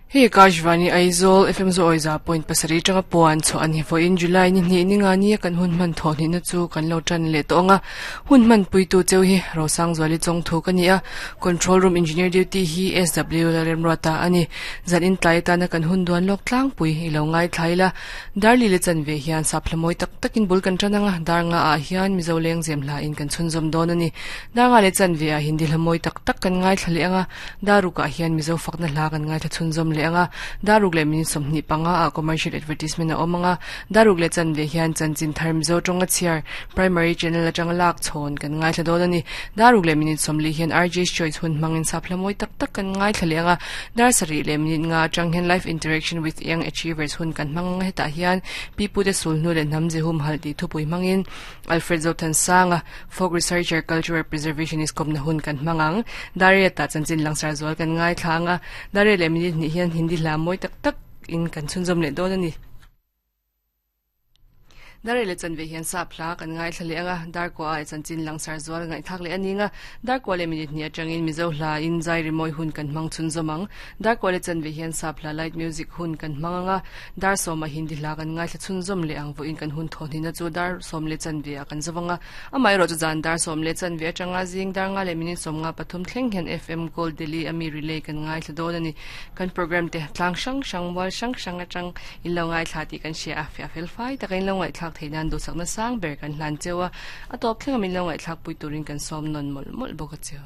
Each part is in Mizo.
Hei Akashvani Aizawl FM Zawiza point pasarih atanga puan chhuah a ni. Vawiin July ni hnih ni nga nia kan hun hman thawh hnihna chu kan lo tan leh tawh ang a. Hun hman puitu cheu hi Rosangzuali Chawngthu ka ni a, Control Room Engineer Duty hi SW Lalremruata a ni. Zan intlai atana kan hun duan lawk tlangpui i lo ngaithla ila. Darli le chanve hian sap hla mawi tak takin bul kan tan ang a, dar nga ah hian Mizo lengzem hla in kan chhunzawm dawn a ni. Dar nga le chanve ah Hindi hla mawi tak tak kan ngaithla leh ang a, Daruk ah hian Mizo fakna hla kan ngaithla chhunzawm leh ang a, Daruk leh minute 25 ah commercial advertisement a awm ang a, Daruk leh chanve hian chanchin thar Mizo tawnga chhiar primary channel atanga lak chhawn kan ngaithla dawn a ni. Daruk leh minute 40 hian RJ's Choice hun hmangin sap hla mawi tak tak kan ngaithla leh ang a, Dar sarih leh minute nga atang hian Life Interaction with Young Achievers hun kan hmang ang a, hetah hian Pi Pute Sulhnu leh Hnam Zehum Halh tih thupui hmangin Alfred Zothansanga, Folk Researcher, Cultural Preservationist kawmna hun kan hmang ang. Dariat-ah chanchin langsar zual kan ngaithla ang a, Dariat leh minute hnih hian Hindi hla mawi tak tak in kan chhunzawm leh dawn a ni. Dariat leh chanve hian sap hla kan ngaithla leh ang a, Darkua-ah chanchin langsar zual ngaihthlak leh a ning a, Darkua leh minute hnih atangin Mizo hla in zai rimawi hun kan hmang chhunzawm ang. Darkua leh chanve hian sap hla light music hun kan hmang ang a, Dar sawmah Hindi hla kan ngaithla chhunzawm leh ang vawiin kan hun thawhnihna chu dar sawm leh chanve ah kan zo ang a, amaherawh chu zan dar sawm leh chanve atanga zing dar nga leh minute sawm nga pathum thleng hian FM Gold Delhi a mi relay kan ngaithla dawn a ni. Kan program te tlang hrang hrang, mual hrang hrang atang in lo ngaithla tih kan hria a, fiah fel fai taka in lo ngaihthlak theih nan duhsakna sang ber kan hlan cheu a, a tawp thleng a min lo ngaihthlak pui turin kan sawm nawn mawlh mawlh bawk a cheu.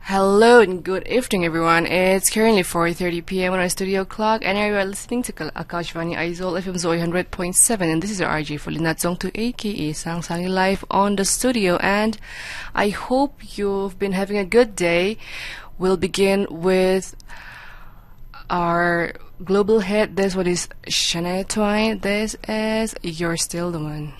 Hello and good evening, everyone. It's currently 4:30 p.m. on our studio clock, and you are listening to Akashvani Aizawl FM Zoi 100.7, and this is your RJ Fulina Chongthu, aka Sang Sangi, live on the studio. And I hope you've been having a good day. We'll begin with our global hit. This one is Shania Twain. This is You're Still the One.